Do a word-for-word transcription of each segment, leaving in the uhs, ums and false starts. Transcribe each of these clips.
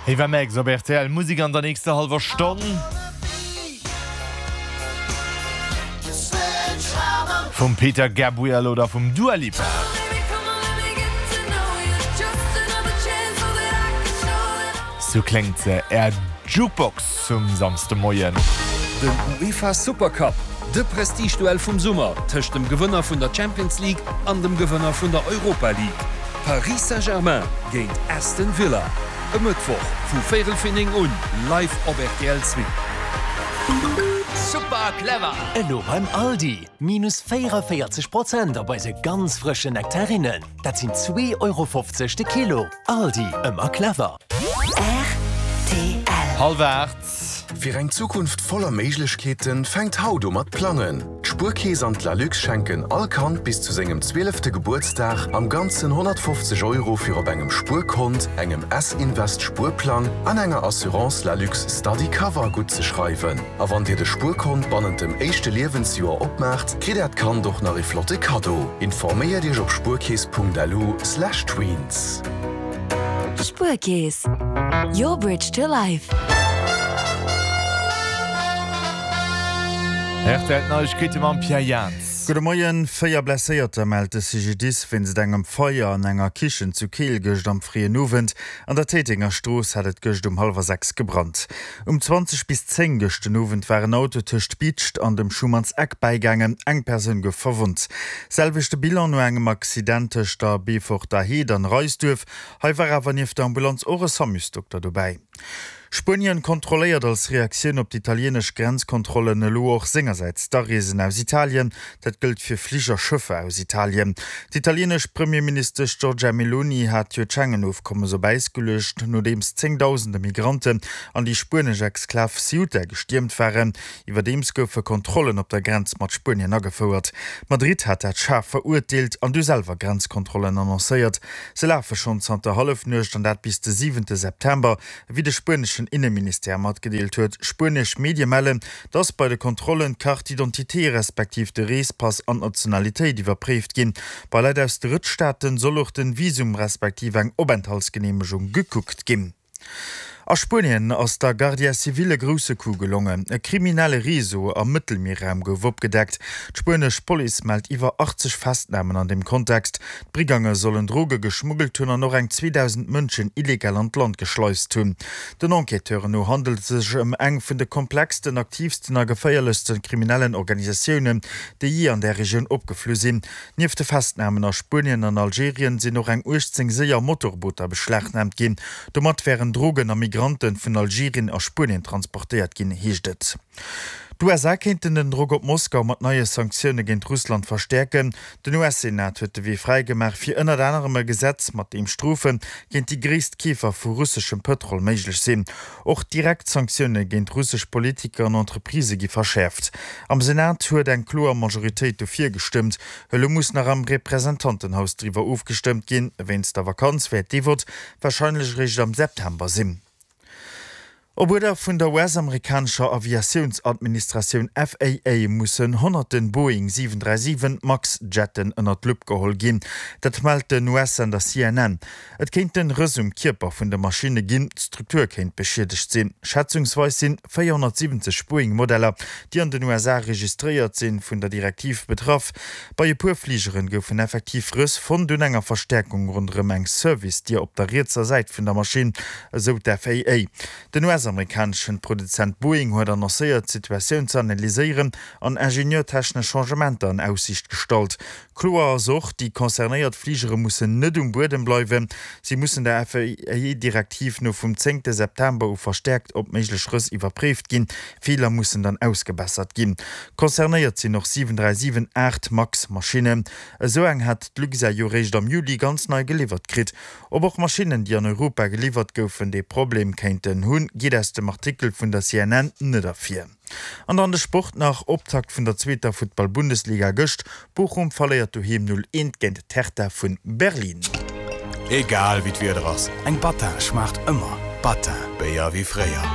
Ava Max op rtl, Musek an der nächster hallwer Stonn. Vum Peter Gabriel oder vum Dua Lipa. Sou kléngt se, Är Jukebox um Samsdemoien. Den UEFA Supercup, de Prestigeduell vum Summer tëscht dem Gewënner vun der Champions League an dem Gewënner vun der Europa League. Paris Saint-Germain géint Aston Villa, e Mëttwoch vu véierel fir néng un, live op rtl Zwee. Super clever! Elo beim Aldi, minus véierunvéierzeg Prozent op eise ganz frëschen Nektarinnen. Dat sinn zwee Euro fofzeg de Kilo. Aldi, ëmmer clever! Rtl. Hallwer aacht. Fir eng Zukunft voller Méiglechkeeten, fänkt haut u mat plangen! D'Spuerkeess an d'Lalux schenken all Kand bis zu sengem zwielefte Gebuertsdag am Ganzen honnertfofzeg Euro fir op engem Spuerkont, engem S-Invest Spuerplang an enger Assurance Lalux Study Cover guttzeschreiwen. A wann Dir de Spuerkont bannent dem éischte Liewensjoer opmaacht, kritt Äert Kand och nach ee flotte Kaddo. Informéiert Iech op spuerkeess.lu slash tweens. Spuerkeess, your bridge to life. Rtl Neiegkeete mam Pierre Jans. Gudde Moien. Véier Blesséierter mellt de CGDIS wéinst engem Feier an enger Kichen zu Keel gëscht am fréien Owend. An der Téitenger Strooss hat et gëscht um hallwer sechs gebrannt. Um zwanzeg bis zéng gëscht den Owend war en Auto tëscht Bidscht an dem Schumann's Eck bäigaangen. Eng Persoun gouf verwonnt. Selwechte Bilan no engem Accident tëscht der Beeforter Heed an Reisduerf. Hei war awer nieft der Ambulanz och e Samusdokter dobäi. Spuenien kontrolléiert als Reaktioun op d'italienesch Grenzkontrollen elo och sengersäits d'Areesen aus Italien. Dat gëllt fir Flich a Schëffer aus Italien. D'italienesch Premierministesch Giorgia Meloni hat jo d'Schengen-Ofkommes op Äis geluecht, nodeems zéngdausende Migranten an déi spuenesch Exklav Ceuta gestiermt waren. Iwwerdeems goufe Kontrollen op der Grenz mat Spuenien agefouert. Madrid hat dat schaarf verurteelt an du selwer Grenzkontrollen annoncéiert. Se lafe schonn zanter Hallefnuecht an dat bis de siwente September. Wéi de spueneschen Inneministère matgedeelt huet. Spuenesch Medie mellen, dass bei de Kontrollen d'Carte d'identité respektiv de Reespass an d'Nationalitéit iwwerpréift ginn. Bei Leit aus Drëttstaaten soll och den Visum respektiv eng Openthaltsgeneemegung gekuckt ginn. A Spuenien ass der Guardia Civil e grousse Coup gelongen. E kriminelle Réseau am Mëttelmierraum gouf opgedeckt. D'spuenesch Police mellt iwwer achtzeg Festnamen an deem Kontext. D'Brigange sollen Droge geschmuggelt hunn an och eng zweedausend Mënschen illegal an d'Land geschleist hunn. Den Enquêteuren no handelt et sech ëm eng vun de komplexsten, aktiivsten a geféierlechste kriminellen Organisatiounen, déi jee an där Regioun opgeflu sinn. Nieft de Festnamen a Spuenien an Algerien sinn och eng uechtzéng séier Motorbooter beschlagnaamt ginn. Domat wären Drogen a Migranten vun Algerien a Spuenien transportéiert ginn, heescht et. D'USA kéinten den Drock op Moskau mat neie Sanktioune géint Russland verstäerken. Den U S-Senat huet de Wee fräi gemaach fir ënnert anerem e Gesetz, mat deem Strofe géint déi gréisst Keefer vu russeschem Pëtrol méiglech sinn. Och direkt Sanktioune géint russesch Politiker an Entreprisë gi verschäerft. Am Senat huet eng kloer Majoritéit dofir gestëmmt. Elo muss nach am Representantenhaus driwwer ofgestëmmt ginn. Wéinst der Vakanz wäert dee Vott warscheinlech eréischt am September sinn. Op Uerder vun der U S-amerikanescher Aviatiounsadministratioun F A A mussen honnerten Boeing siwen dräi siwen Max Jetten ënnert d'Lupp geholl ginn. Dat mellt den U S-Sender C N N. Et kéinten Rëss um Kierper vun de Maschinne ginn, d'Struktur kéint beschiedegt sinn. Schätzungsweis sinn véierhonnertsiwwenzeg Boeing-Modeller, déi an den U S A registréiert sinn, vun der Direktiv betraff. Bei e puer Fligeren goufen effektiv Rëss fonnt un enger Verstäerkung ronderëm eng Service-Dier op der rietser Säit vun der Maschinn, esou d'F A A. Den U S-amerikaneschen Produzent Boeing huet annoncéiert, d'Situatioun ze analyséieren an ingenieurtechnesch Changementer an Aussiicht gestallt. Kloer ass och, déi concernéiert Fligere mussen net um Buedem bleiwen. Si mussen der F A A-Direktiv no vum zéngte September u verstäerkt op méiglech Rëss iwwerpréift ginn. Feeler mussen dann ausgebessert ginn. Concernéiert sinn och siwen dräi siwen aacht Max-Maschinnen. Esou eng hat d'Luxair jo réischt am Juli ganz nei geliwwert kritt. Ob och Maschinnen, déi an Europa geliwwert goufen, dee Problem kéinten hunn, geet aus dem Artikel vun der C N N net ervir. An dann de Sport nach, Optakt vun der zweeter Futtball-Bundesliga gëscht, Bochum verléiert doheem null eent géint d'Hertha vu Berlin. Egal wéi d'Wieder ass, eng Battin schmaacht ëmmer. Battin, Béier wéi fréier.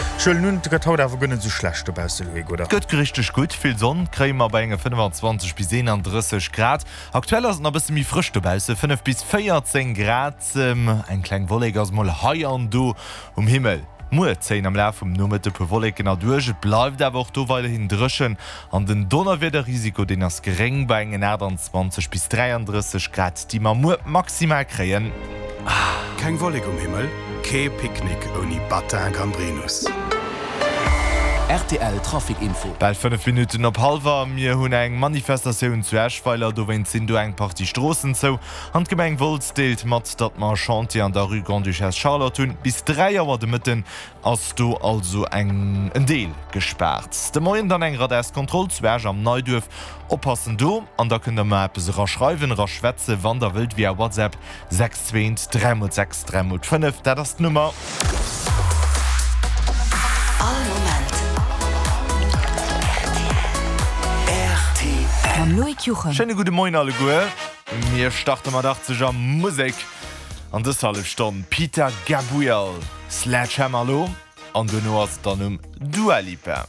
Ech huelen un, et gëtt haut awer guer net esou schlecht dobausse, Loïc, oder? Et gëtt richteg gutt, vill Sonn kréie mer bei enge fënnefanzwanzeg bis eenandrësseg Grad. Aktuell ass et nach e bësse méi frësch dobausse, fënnef bis véierzéng Grad. Eng kleng Wollek ass mol hei an do um Himmel. Muer zéien am Laf vum Nomëtte puer Wolleken erduerch, et bleift awer och do weiderhin dréchen an den Donnerwiederrisiko, deen ass geréng bei engen aachtanzwanzeg bis dräiandrësseg Grad, déi mer muer maximal kréien. Keng Wollek um Himmel? Kee Picknick ouni Batin Gambrinus! Rtl Trafic Info. Bal fënnef Minutten op hallwer. Mir hunn eng Manifestatioun zu Eschweiler, dowéinst sinn do eng Partie Stroossen zou. An d'Gemeng Wolz deelt mat, datt mer e Chantier an der Rue Grande-Duchesse Charlotte hunn. Bis dräi Auer de Mëtten ass do also eng en Deel gespaart. De Moien dann eng Radarskontroll zu Esch am Neiduerf. Oppassen do an da kënnt der mer eppes eraschreiwen, eraschwätzen, wann der wëllt via WhatsApp sechs zwee eent dräi mol sechs dräi mol fënnef, dat ass d'Nummer. All Moment rtl. Mam Loïc Juchem. Schéine gudde Moien alleguer. Mir starte mat achtzeger Musek an dës hallef Stonn. Peter Gabriel, Sledgehammer elo an duerno ass et dann um Dua Lipa.